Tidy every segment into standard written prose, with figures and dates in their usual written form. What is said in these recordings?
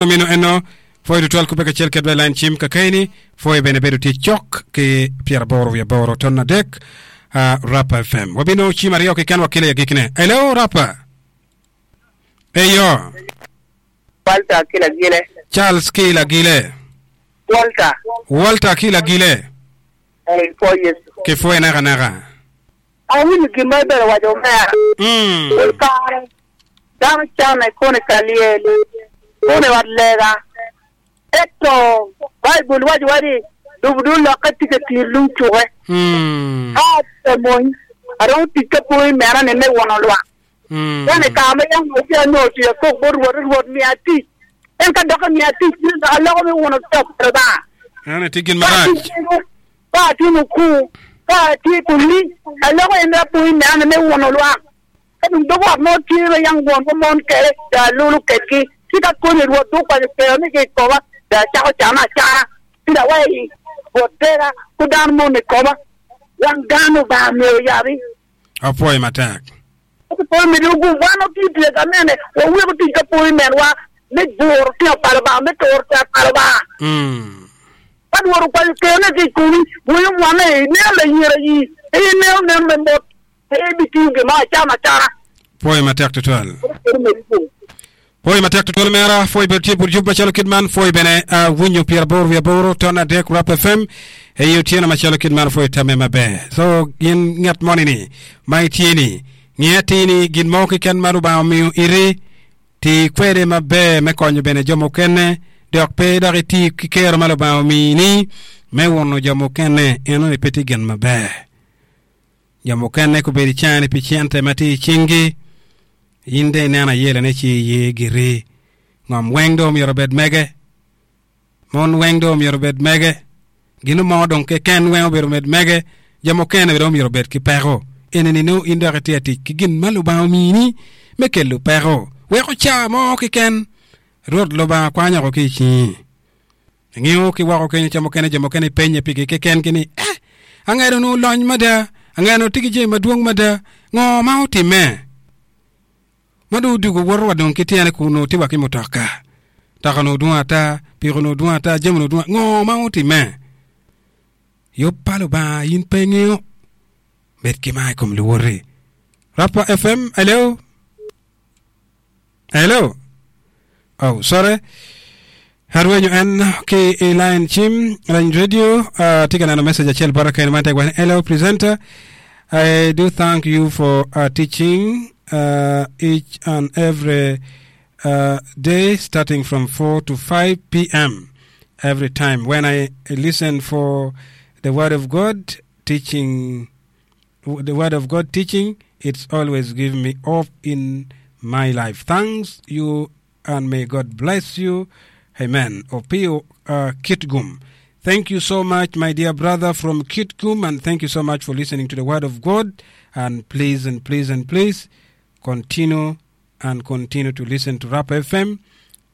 Mino eno, pwoyo tutwal kubbe kacel kedwa i lain cim kakeni. Pwoyo bene bedo tye cok ki 88 ton adek uh, Rapa FM. Wabino cim aryo keken wakele i agikine. Hello Rapa. Eyo. Walter ki Lagile. Charles ki Lagile. Walter. Walter ki Lagile. Ee, pwoyo Yecu. Kipwoye nakanaka. Awinyo gin ma ibedo waco omera. Mm. Pol kare dano canne kono i ka lyel, kono i ot lega. Ento Baibul wacowa ni lubo dong lokke tye ka tiyo lung cuke. Mm. Ka atye ka mony, aromo tic ka pwony mena-ni me wono lwak. Mm. Ento i kare ma yam onongo tye anongo tic akok bot Rwot ni, Rwot, miya tic. En ka dok emiya tic, ci dok aloko me wono tic pa Lubanga. Eno tye gin Ka marac. atye kene, Ka atye mukur, ka atye kumi, aloko en rapur mene me wuno lwak. Ka dong dog ot mo tye ma yam wonwa mon kwede, dong alulo kwedgi, ci ka koni Rwot dong okwanyo kerone ki i koma, dong acako cano acana, ci dong aweyo i Rwot tera ku dano moni i koma. Wang dano Lubanga myero oyabi. Apwoyo matek. Ka pol me dog wan watiyo tic ka mene, waweko tic ka pol menwa me guro tino pa Lubanga, me turo tek pa Lubanga. Ka Rwot okwanyo kerone ki i komi, bwunyo mwanne, ineno layira yi, pe ineno nen me mot, pe ibitiyo gin mo acama acana. Pwoyo matek tutwal. Pwoyo matek tutwal omera, pwoyo bedo tye but yub macalo kit man, pwoyo bene winyo 88 ton adek Rap FM i otyeno macalo kit man, pwoyo tamme maber. So gin ngat moni ni ma itye ni nge atir ni gin mo keken ma Lubanga omiyo iti ti kwede maber me konyo bene jo mukene dok pe dok iti ki kero ma Lubanga omini me wuno jo mukene enoni pe tye gin maber. Jo mukene gubedo i cani pi cente ma tye i cinggi. In dong ineno ayelane ci iye giri. Ngom weng dong myero obed mege. Mon weng dong myero obed mege. Gin mo dong keken weng obedo med mege. Jo mukene dong myero obed ki peko. Eni-ni nongo in dok itye ka tic ki gin ma Lubanga omini me kelo peko. Weko ca mo keken Rwot Lubanga kwanyo woko ki i cingi. Ingiyo ki woko kenyo ca mukene jo mukene ipenye pigi kekengi ni, Eh, angedo onongo olony mada, angedo onongo tye ki jami madwong mada, ngo ma otimme? Ma dong odwogo woto wa dong ki tyene kun onongo tye wa ki mutoka. Mutoka onongo dwong ata, piko onongo dwong ata, jami onongo dwong, ngo ma otimme? Yub pa Lubanga in pe ingeyo, bed ki mar i kom luwoti. Rapa FM, hello. Hello. Oh, sorry. Arwenyo en ki i line cim, line radio. Uh, tye ka neno message acel bota kene man tek hello presenter. I do thank you for uh, teaching uh, each and every uh, day starting from 4 to 5 p.m. every time when I listen for the word of God teaching the word of God teaching, it's always give me hope in my life. Thanks you and may God bless you. Amen. Opio uh, Kitgum. Thank you so much, my dear brother from Kitgum, and thank you so much for listening to the word of God. And please and please and please continue and continue to listen to Rap FM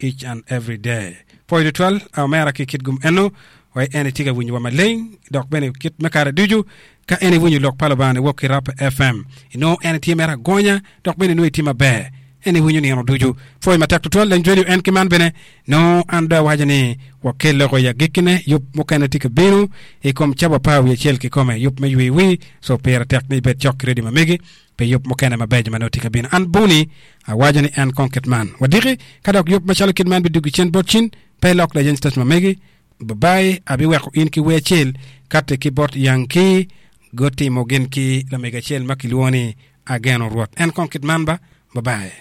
each and every day. Pwoyo tutwal omera ki kit gum eno wai en itye ka winyo wa maleng dok bene kit me kare ducu ka en iwinyo lok pa Lubanga ni wok ki Rap FM inongo en itye mere agonya dok bene inongo itye maber en iwinyo nino ducu. Pwoyo matek tutwal lany radio en ki man bene nongo an dong awaco ni wakel loko i agikkine yub mukene tye ka bino i kom cawa apar wiye acel kikome yub me ywe wi so pire tek ni ibed cok ki radio ma megi pi yub mukene mabeco ma nongo tye ka bino. An Boni awaco ni en kong kit man. Wadiki ka dok yub macalo kit man bidwogi cen bot cin, pe ilok lajany station ma megi. Babai, abiweko in ki wer acel kati ki bot Yankee gutimo gin ki lamego acel ma kilwongo ni Ageno Rwot. En kong kit man ba. Babai.